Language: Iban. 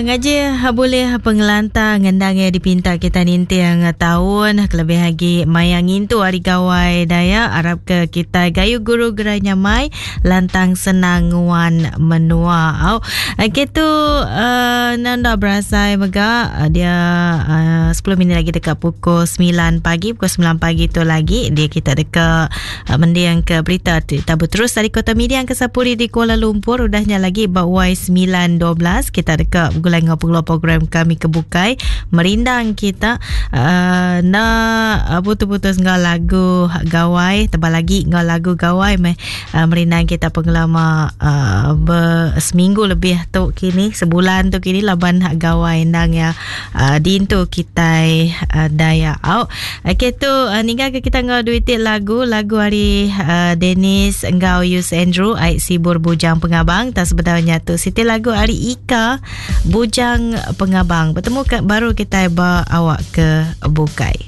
Ngaji bulih pengelantang endang iya dipinta kita ninting taun kelebih agi maya ngintu Hari Gawai Dayak arapka kitai gayu guru gerai nyamai lantang senang nguan menua. Au okay tu uh, enda berasai mega dia uh, 10 minit lagi deka pukul 9 pagi pukul 9 pagi tu lagi dia kita deka Mending ke berita ti tabu terus ari Kota Miri Angkasa Puri di Kuala Lumpur udah nya lagi ba Y912 kita deka begulai enggau pengeluar program kami ke bukai merindang kita uh, enda putus-putus enggau lagu gawai tebal lagi enggau lagu gawai meh uh, merindang kita pengelama uh, ber, seminggu lebih tu kini sebulan tu kini laban gawai endang ya uh, dintu kitai uh, Dayak au. Okey tu uh, ninggal ke kita enggau duit lagu lagu ari uh, Dennis enggau Yus Andrew ai sibur Bujang Pengabang tak sebenarnya tu siti lagu ari Ika Bujang Pengabang. Bertemu ke baru kita ba awak ke bukai.